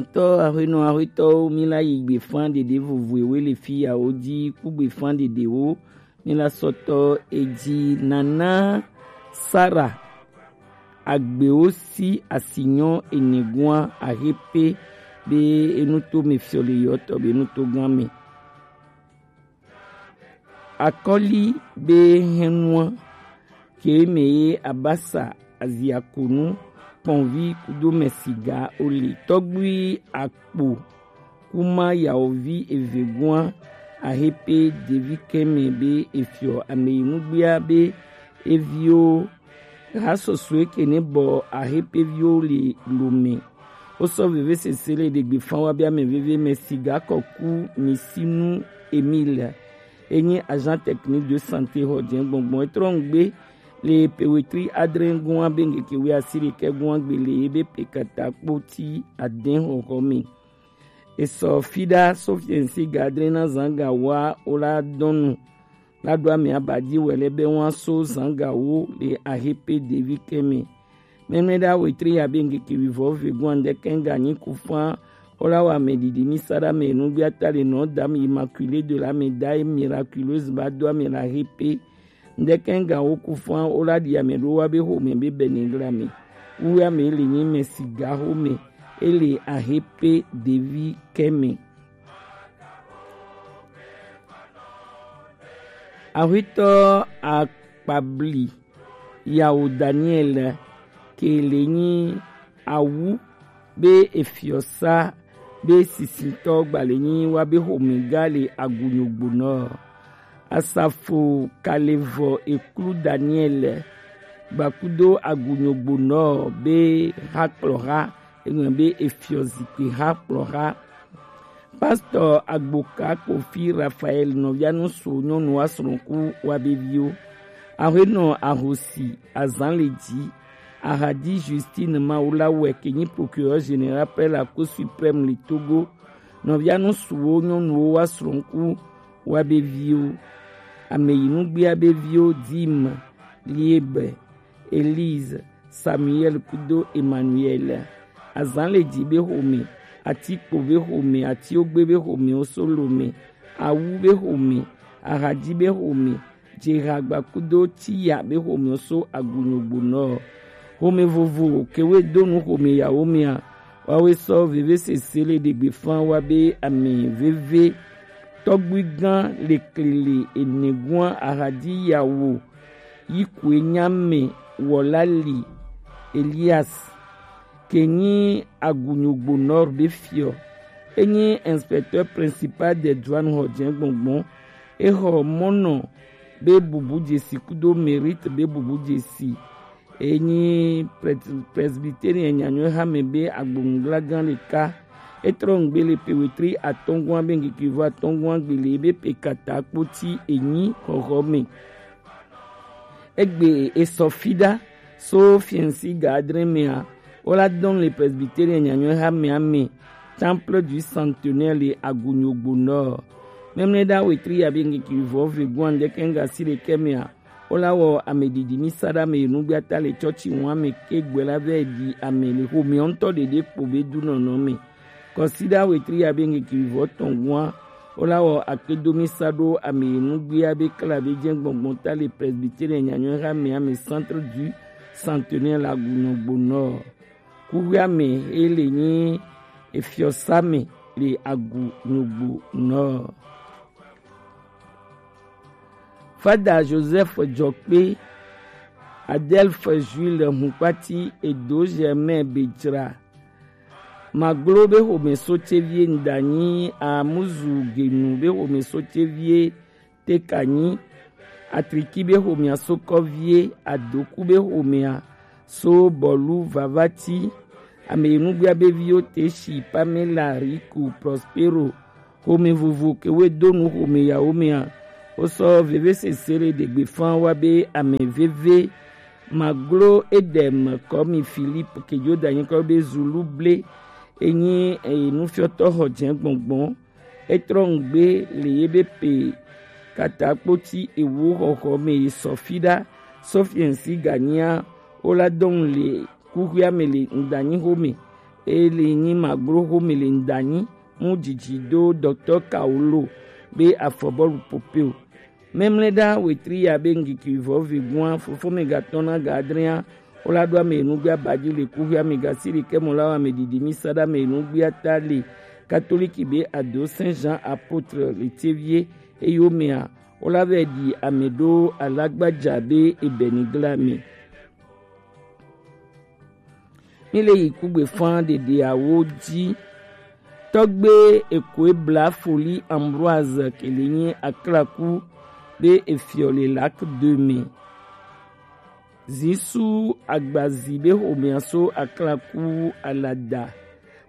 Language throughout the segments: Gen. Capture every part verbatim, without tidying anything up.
Tɔ ahuenɔ ahuetɔwo, mi la yi gbefan ɖeɖe vovoewo le fi yawo ji ku gbefan ɖeɖewo. Mi la sɔtɔ eji nana Sara agbewo si asinyɔ enegoa ahepe be enuto me fiɔ le yɔtɔ be enuto gan me. Akɔli be hɛnua ke me ye abasa aziakonu kpɔnvi kudo mɛsiga ole tɔgbui akpo kuma yawovi evegoa ahepe devi kɛmɛ be efiɔ ameyinugbea be eviwo ha sɔsɔe ke ne bɔ ahepeviwo le lome. Wosɔ veve sese le ɖegbe fan wa be ame veve mɛsiga kɔku misinu Emile enyi agent technique de santé xɔ jɛ gbɔngbɔn etrɔ ŋgbe le pewetri adre gɔn be ŋkeke wi asi ɖekɛ gɔn gbe le ebe pe kata kpoti adɛn xɔxɔ me. Esɔ fiɖa sofiɛnsi gadre na zanga wa o la dɔnu la ɖo ame aba ji wɛ lɛ be wa so zanga wo le ahepe devi kɛmɛ. Mɛmɛ ɖa wetri ya be ŋkeke wi vɔ ve gɔn ɖe kɛn ga nyi ku fan o la wa me ɖiɖi mi sa ɖa me nu bi ata le nɔ dam immaculée de la médaille miraculeuse ba do ame la hepe. Ŋdɛkɛŋga wo ku fã wo la ɖi ame ɖo wa be xome be bɛnɛgla me. Wu ame le nyi mɛ siga xome ele ahe pe devi kɛmɛ. Axwetɔ akpabli yawo Daniel ke le nyi awu be efiɔsa be sisitɔ gbalẽ nyi wa be xomɛga le agunyogbonɔ. Asafo kalevɔ eklu Daniel gbakudo agunyogbonɔ be hakplɔha eŋlɔ be efiɔ zikpui hakplɔha. Pastor Agboka Kofi Raphael nɔvianu so nyɔnu asrɔ̃ku wa be viwo. Ahenɔ ahosi azan le dzi. Ahadi Justine Mawulawɛ ke nyi procureur général près la Cour suprême le Togo. Nɔvianu suwo nyɔnuwo wa srɔ̃ku wa be viwo. Ameyinugbea be viwo Dim, Liebe, Elise, Samuel kudo Emmanuel. Azan le dzi be xome, atikpo be xome, atiogbe be xome, osolome, awu be xome, ahadi be xome, Jehagba kudo Tiya be xome so agunyogbo nɔ. Xome vovo kewe donu xome yawo mia. Wawe sɔ veve sese le ɖegbe fan wa be ame veve. Tɔgbuigã le klele enegua ahadi yawo. Yi kue nyame wɔla li Elias. Ke nyi agunyogbo nɔ be fiɔ. Enyi inspecteur principal des douanes xɔ jɛ gbɔngbɔn. Exɔ mɔnɔ be bubu dzesi kudo mérite be bubu dzesi. Enyi pres-, presbytérien nyanyɔe hame be agbonugblagã ɖeka. Etrɔ ŋgbe le pewetri atɔngua be ŋkeke vɔ atɔngua gbele be pe kata kpoti enyi xɔxɔ me. Egbe esɔ fiɖa so fiɛnsi ga adre mea, wola dɔn le presbytérien nyanyɔe hamea me, temple du centenaire le agunyogbo nɔ. Mɛmlɛ ɖa wetri ya be ŋkeke vɔ ve guan ɖe kɛnga si ɖe kɛmea, wola wɔ ame ɖiɖi mi sa ɖa me nugbata le tsɔtsi ŋua me ke gbɛ la vɛ ɖi ame le xomea ŋutɔ ɖeɖe kpo be du nɔnɔ me. Kɔsiɖa wetri ya be ŋkeke vɔ tɔn gua, wola wɔ akpedomi sa ɖo ame nugbia be kla be jɛ gbɔngbɔn ta le presbytérien nyanyɔe ha me ame centre du centenaire la gunyogbo nɔ. Kuxia me ele nyi efiɔsa me le agunyogbo nɔ. Fada Joseph Dzɔkpe, Adelphe Jules Hukpati, Edo Germain Bedzra. Maglo be xome so tevie Ndanyi Amuzu Genu be xome so tevie Tekanyi. Atriki be xomea so kɔvie Adoku be xomea so bɔlu vavati. Ame nugbia be viwo Teshi, Pamela, Riku, Prospero. Xome vovo ke woe do nu xome yawo mea, wosɔ veve sese le ɖegbe fan wa be ame veve maglo Edem kɔmi Philippe ke Jordan nyikɔ be zulu ble enyi enufiɔtɔ xɔ jɛ gbɔngbɔn. Etrɔ ŋgbe le ye be pe kata kpoti ewo xɔxɔ me ye sɔ fiɖa. Sofiɛnsi ganyia wola dɔn le kuxia me le ŋdanyi xome. Eli nyi maglo xome le ŋdanyi mu dzidzi do Docteur Kaolo be afɔbɔlu popeo. Mɛmlɛɖa wetri ya be ŋgiki vɔ vegoa fofome gatɔn na ga adrea. Wola ɖo ame enugbe abaji le kuxia me gasi ɖekɛ mɔ la wa ame didi mi sa ɖe ame enugbe ata le katoliki be ado Saint Jean apôtre le tievie. Eyo mea wola vɛ ɖi ame ɖo alagbaja be ebɛnigla me. Mi le yi kugbe fan ɖeɖeawo ji. Tɔgbe ekoe bla foli Ambroise kele nyi aklaku be efiɔ le lac de me. Zisu agbazi be xomea so aklaku alada.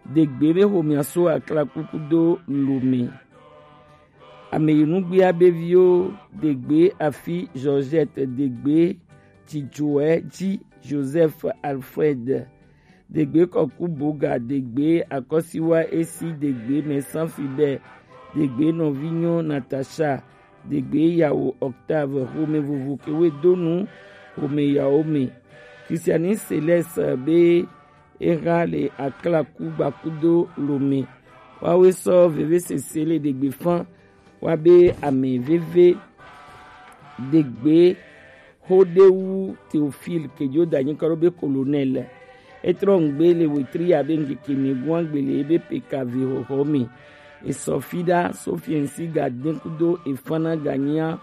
Degbe be xomea so aklaku kudo lome. Ame yi nugbea be viwo degbe afi Georgette degbe dzidzɔe ji Joseph Alfred. Degbe kɔku boga degbe akɔsiwa esi degbe mɛsan fibɛ degbe nɔvinyo Natacha degbe yawo Octave xome vovo kewe donu xome yawo me. Christiani Céleste be exa le aklaku gbakudo lome. Wawe sɔ vevesese le degbe fan wa be ame veve degbe Xoɖewu Théophile kejo da nyikɔ ɖo be colonel. Etrɔ ŋgbe le wetri ya be ŋkeke mi gua gbe le ebe pekave xɔxɔ me. Esɔ fi ɖa sofiɛnsi ga den kudo efana ga nyia.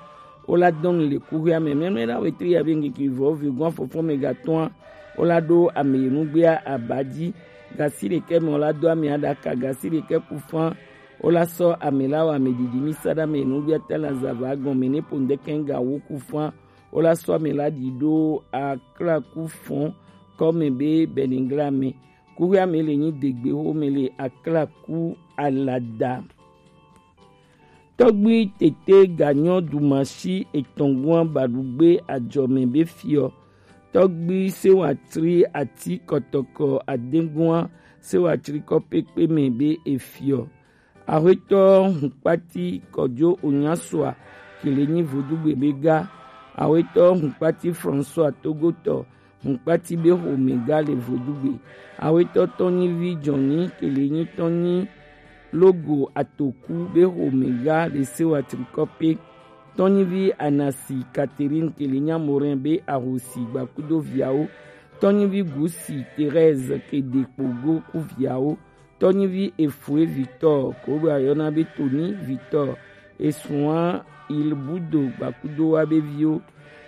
Wola dɔn le kuxia me mɛmɛ ɖa wetri ya be ŋkeke vɔ ve gua fɔfɔ me ga tɔa. Wola ɖo ame yi nugbea aba ji. Gasi ɖekɛ me wola do ame aɖaka gasi ɖekɛ ku fan. Wola sɔ ame la wa ame didi mi sa ɖa me yi nugbea ta la zava gɔme ne po ŋdɛkɛ ga wo ku fan. Wola sɔ ame la ɖi ɖo aklaku fɔn kɔme be bɛnigla me. Kuxia me le nyi degbe xome le aklaku alada. Tɔgbui tete ganyɔ dumasi etɔn gua baɖugbe ajɔme be fiɔ. Tɔgbui sewatri ati kɔtɔkɔ adegua sewatri kɔ pekpe me be efiɔ. Axwetɔ hunkpati kɔjo onyasoa kele nyi vodugbe be ga. Axwetɔ hunkpati François Togotɔ hunkpati be xome ga le vodugbe. Axwetɔ tɔnyivi jɔnyi kele nyi tɔnyi logo atoku be xome ga le sewa trikɔpe. Tɔnyivi Anasi Catherine kele nyi Amorin be ahosi gbakudo viawo. Tɔnyivi Gusi Thérèse kede kpogo ku viawo. Tɔnyivi Efue Victor ko be ayɔna be Tony Victor esua Ilbudo gbakudo wa be viwo.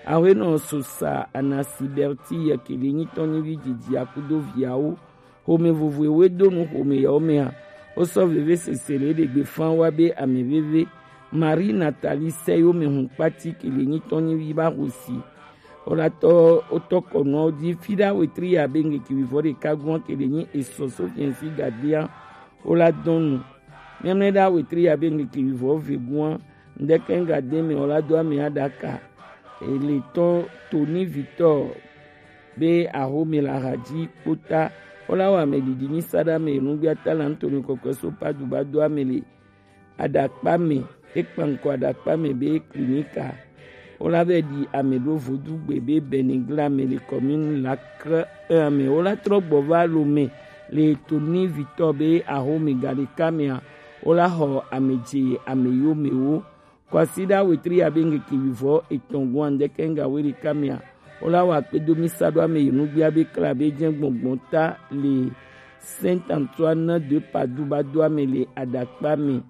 Axwenɔ Sosa Anasi Berti yɛ kele nyi tɔnyivi didi akudo viawo. Xome vovoe we do nu xome yawo mea. Wo sɔ veve sese le ɖegbe fan wa be ame veve. Marie Nathalie sɛ yo me hun kpati kele nyi tɔnyivi ba hosi. Wola tɔ wotɔ kɔnuawo dzi fi ɖa wetri ya be ŋkeke vivɔ ɖeka gua kele nyi esɔ sofiɛnsi gadea. Wola dɔn nu mɛmlɛ ɖa wetri ya be ŋkeke vivɔ ve gua ŋdɛkɛ gade me wola do ame aɖaka ele tɔ Tony Victor be axome la hadzi kpota. Wola wa ame didi nyi sa ɖa me nugbea ta la ŋtɔ mi kɔkɔe so padu ba do ame le aɖakpa me. Ekpa ŋkɔ aɖakpa me be klinika. Wola vɛ ɖi ame ɖo vodugbe be bɛnigla me le commune Lacre un me. Wola trɔ gbɔ va lo me le Tony Victor be axome ga ɖeka mea. Wola xɔ ame dze ame yo me wo. Kwasiɖa wetri ya be ŋkeke vivɔ etɔn gua ŋdɛkɛ ŋga we ɖeka mea. Wola wa kpedo mi sa ɖo ame yi nugbea be kla be jɛ gbɔngbɔn ta le Saint Antoine de Padoue ba do ame le aɖakpa me.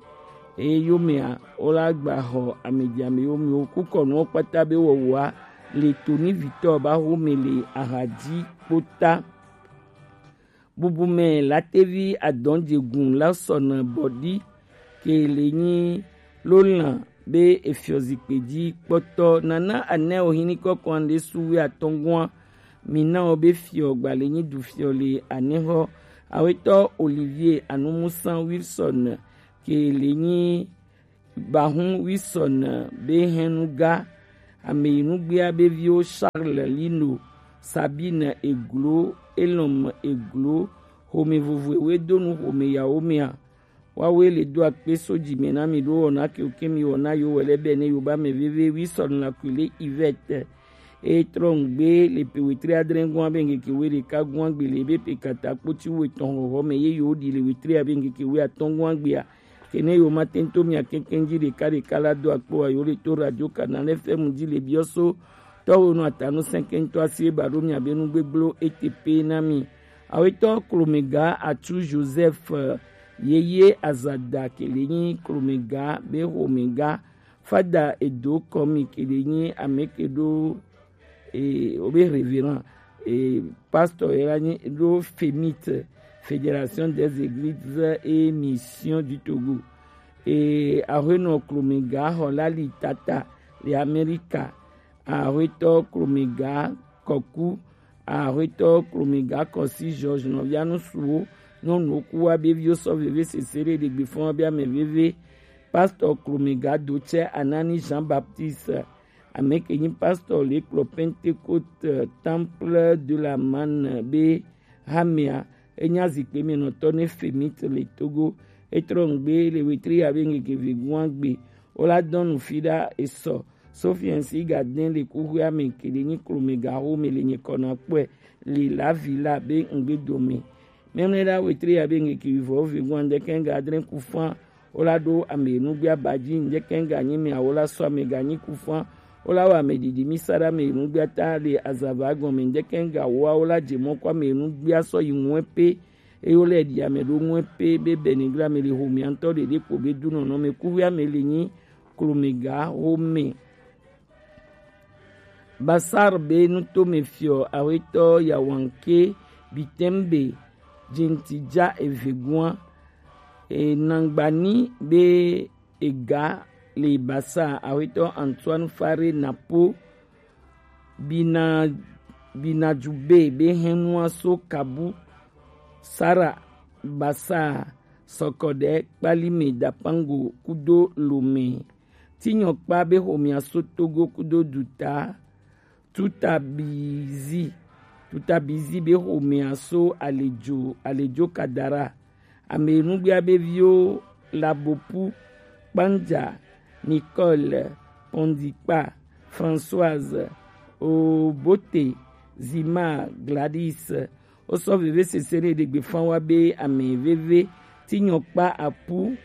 Eye yo mea wola gba xɔ ame dzi ame yo me wo kukɔnuwo kpata be wɔwɔa le Tony Victor ba xome le ahadzi kpota. Bubu me latevi adɔnjegun la sɔna bɔdi ke le nyi lolan be efiɔ zikpe dzi kpɔtɔ nana anɛ o hini kɔkɔ ande suwe atɔngua. Mina o be fiɔ gbale nyi du fiɔ le anɛxɔ. Awetɔ Olivier Anumusa Wilson ke le nyi Bahun Wilson be hɛnuga. Ame yi nugbea be viwo Charles Lino, Sabine Eglo, Elom Eglo, xome vovoe we do nu xome yawo mea. Wawe le do akpe so dzi me na mi ɖo wɔna ke ke mi wɔna yo wɛlɛ bɛ ne yo ba me veve Wilson la kule Yvette. E trɔ ŋgbe le pe wetri adre gɔn abe ŋkeke we ɖeka gɔn agbe le ebe pe kata kpoti we tɔn xɔxɔ me ye yo ɖi le wetri abe ŋkeke we atɔn gɔn agbea. Kene yo ma tento mia kenkɛn ji ɖeka ɖeka la do akpo wa yo le to radio Canal F M ji le biɔso tɔwo no atanu sɛnkɛntɔ asi e ba ɖo mia be nu gbegblɔ e te pe na mi. Awetɔ Klomega Atu Joseph, eh, yeye azada kele nyi Klomega be xomega fada edo kɔmi kele nyi ameke ɖo, eh, obe révérend, eh, pasteur yela nyi ɖo femite, Fédération des Églises et Missions du Togo. Eh, ahuenɔ Klomega xɔ lali tata le Amerika. Ahuetɔ Klomega Kɔku, ahuetɔ Klomega Kɔsi George nɔvia nusuwo, nyɔnuwo ku wa be viwo sɔ veve sese ɖe ɖegbe fɔn wa be ame veve. Pasteur Klomega Dotsɛ Anani Jean Baptiste, ame ke nyi pasteur le kplɔ Pentecôte Temple de la Manne be hamea, enya zikpe me nɔtɔ ne femite le Togo. Etrɔ ŋgbe le wetri ya be ŋgeke vegun agbe. Wola dɔn nu fi ɖa esɔ. Sofiɛnsi ga dɛn le kuxuia me kele nyi Klomega xo me le nyi kɔna kpɔɛ le la vi la be ŋgbe dome. Mɛmlɛ ɖa wetri ya be ŋgeke vivɔ vegun andɛkɛn ga adrɛn kufan. Wola ɖo ame nugbia badji ndɛkɛn ga nyi me awola sɔ ame ga nyi kufan. Wola wɔ ame didi mi sa ɖa ame nugbia ta le azava gɔme ndɛkɛn ga woa wola dze mɔ kɔ ame nugbia sɔ yi ŋue pe. Eye wole ɖi ame ɖo ŋue pe be bɛnigla me le xomia ŋutɔ ɖeɖe kpo be du nɔnɔ me kuvi ame le nyi Klomega xome. Basar be nutome fiɔ awetɔ Yawanke Bitembe Jintidja Evegua, e, Nangbani be ega le Basar, awetɔ Antoine Fare Napo Bina, Binadjube be hɛnua so Kabu, Sara Basar, Sɔkɔɖɛ Kpalime Dapango kudo Lome. Tinyɔkpa be xomea so Togo kudo duta. Tutabizi, Tutabizi be xomea so Alejo, Alejo Kadara. Ame nugbia be viwo Labopu, Kpanja, Nicole, Pondikpa, Françoise, Obote, Zima, Gladys. Wosɔ veve sese ɖe ɖegbe fan wa be ame veve Tinyɔkpa Apu,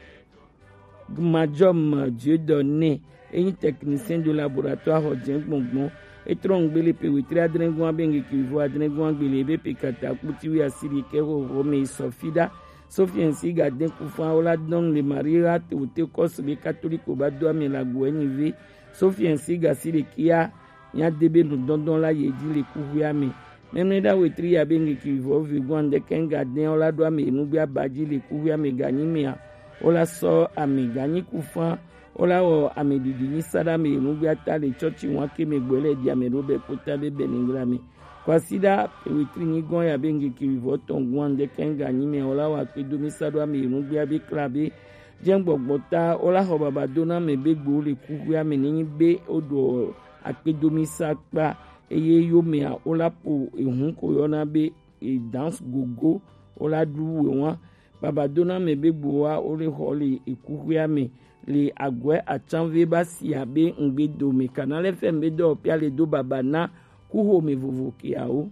Gmadjɔm Dieudonné, enyi technicien de laboratoire xɔ dze gbɔngbɔn. Etrɔ ŋgbe le pe wetri adre gɔn abe ŋgeke vɔ adre gɔn agbe le ebe pe kata kputi wi asiri ke xɔxɔ me sɔ fi ɖa. Sofiɛnsi ga den kufan wola dɔn le Maria te wote kɔsu be katoliko ba do ame la go enyi ve. Sofiɛnsi ga si ɖe kia nya de be nudɔndɔn la ye dzi le kuxuia me. Mɛmlɛ ɖa wetri ya be ŋgeke vɔ vegun andɛkɛn ga den wola ɖo ame nugbe aba dzi le kuxuia me ganyi mea. Wola sɔ ame ganyi kufan. Wola wɔ ame ɖiɖi nyi sa ɖa ame nugbe ata le tsɔtsi wan ke me gbɔ le ɖi ame ɖo be kpota be bɛnigla me. Kwasiɖa wetri nyi gɔn ya be ŋgeke vɔ tɔn gun andɛkɛn ganyi mea wola wɔ akpedo mi sa ɖo ame nugbe abe kla be jɛn gbɔgbɔ ta wola xɔ baba do na ame be gbo le kuxuia me nenyi be woɖo akpedo mi sa kpa. Eye yomea wola po ehun ko yɔna be e dance gogo wola ɖu we wan. Baba do na ame be gbowa wole xɔ le ekuxuia me le agɔe atsanve ba sia be ŋgbe dome. Canal F M be dɔ pia le do baba na kuxome vovo kiawo.